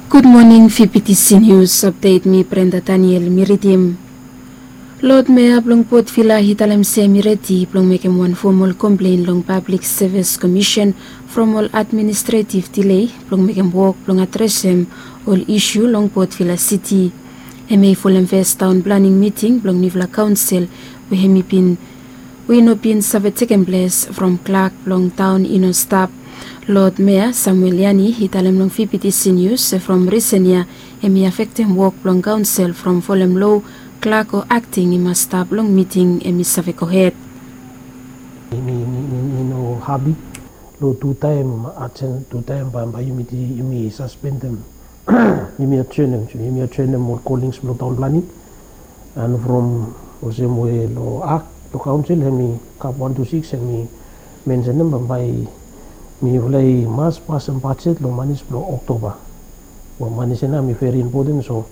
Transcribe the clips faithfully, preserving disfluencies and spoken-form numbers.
Gud moning, V P T C News Update, mi Brenda Daniel mi ridim. Lord Mayor blong Port Vila i talem se mi redi blong mekem wan fomol komplen long Public Service Commission from ol administrative delay blong mekem wok blong adresem ol isu long Port Vila City. Hemia i folem fes taon planing miting blong niufala kaonsel we hemi bin we i no bin save tekem ples from clerk blong taon i no stap. Lord Mayor Samuel Yani i talem long V P T C News se from risen ya hemi afektem wok blong kaonsel from folem loa clerk o akting i mas stap long miting hemi save gohed. Mi, mi, mi, mi no hapi long tu taem ajen, tu taem bambae yumi, yumi saspendem, yumi ajenem, yumi ajenem ol kolings blong taon planing. And from olsem we long ak blong kaonsel hemi kap wan tu sikis hemi mensenem bambae mifala i mas pasem bajet long manis blong Oktoba. Manis ya nao hemi veri impoten, so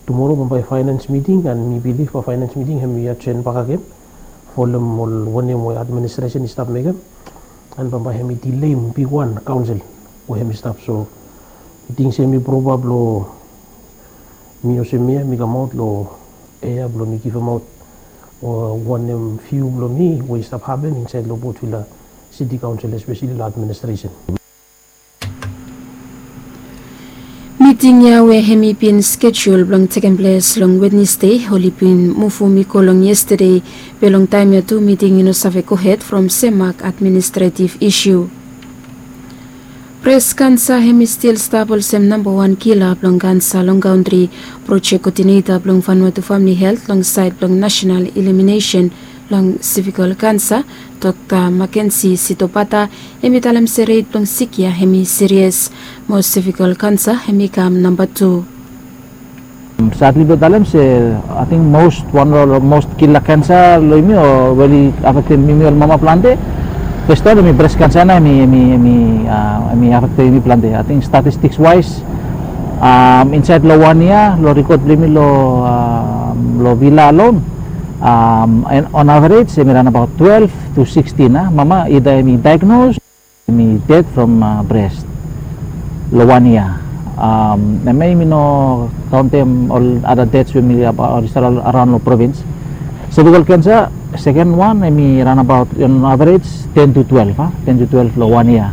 tumoro bambae faenens miting, and mi bilif bambae faenens miting hemi ajen bakegen folem ol wanem we administresen i stap mekem. And bambae hemi dileim bigwan kaonsel we hemi stap. So mi ting se hemi propa blong mi olsem ya mi kamaot long ea blong mi givemaot wanem viu blong mi we i stap hapen insaed long Port Vila City Council, espeseli long administresen. Miting ya we hemi bin skejul blong tekem ples long Wednesde oli bin muvum i go long yestede, be long taem ya tu miting i no save gohed from Semak administrativ isu. Bres kansa hemi stil stap olsem nambawan kila blong kansa long kantri. Projek kodineta blong Vanuatu Famili Helt long saed blong nasenal iliminesen long sevikol kansa, Dokta Makensi Sitobata, hemi talem se ret blong sik ya hemi sirias. Mo sevikol kansa hemi kam namba tu. Sadli blong talem se ating mos wan long mos kila kansa long yumi o we oli afektem yumi ol mama plante. Fes taem hemi bres kansa nao hemi, hemi, hemi afektem yumi plante. Ating statistiks waes, insaed long wan yia long rikod blong yumi long Vila alon, on average hemi raon abaot twelve to sixteen a mama ida hemi daegnos, hemi ded from bres long wan yia. Hemia yumi no kaontem ol ada deds we hemi stap araon long provins. Sevikol kansa, seken wan hemi raon abaot on average ten to twelve a, ten to twelve long wan yia.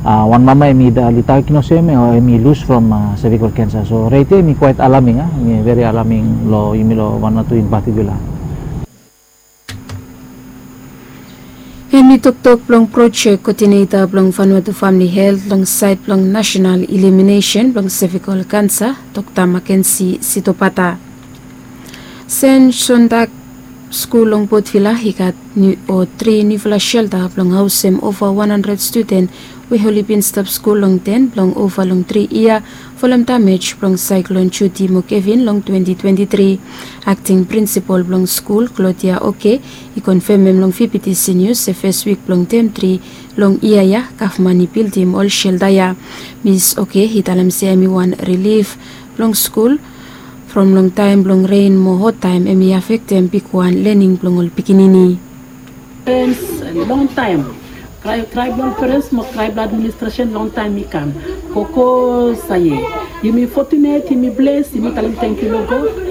Wan mama hemi dai, oli daegnos hem o hemi lus from sevikol kansa. So ret ya hemi kwaet alaming a, hemi veri alaming long yumi long Vanuatu in patikula. Hemi toktok blong projek kodineta blong Vanuatu Famili Helt long saed blong nasenal iliminesen blong sevikol kansa, Dokta Makensi Sitobata. Sen Sontak skul long Port Vila i gat tri niufala selta blong haosem ova wan handred studen we oli bin stap skul long ten blong ova long tri yia folem damej blong saeklon Judy mo Kevin long twenti twenti tri. Akting prinsipol blong skul, Claudia Oke, i konfemem long V P T C News se fes wik blong tem tri long yia ya gavman i bildim ol selta ya. Mis Oke i talem se hemi wan rilif blong skul from long taem blong ren mo hot taem hemi afektem bigwan lening blong ol pikinini. Parents, long taem krae, krae blong parents mo krae blong administresen long taem i kam. Koko Saye, yumi fotunet, yumi bles, yumi talem tangkiu long God.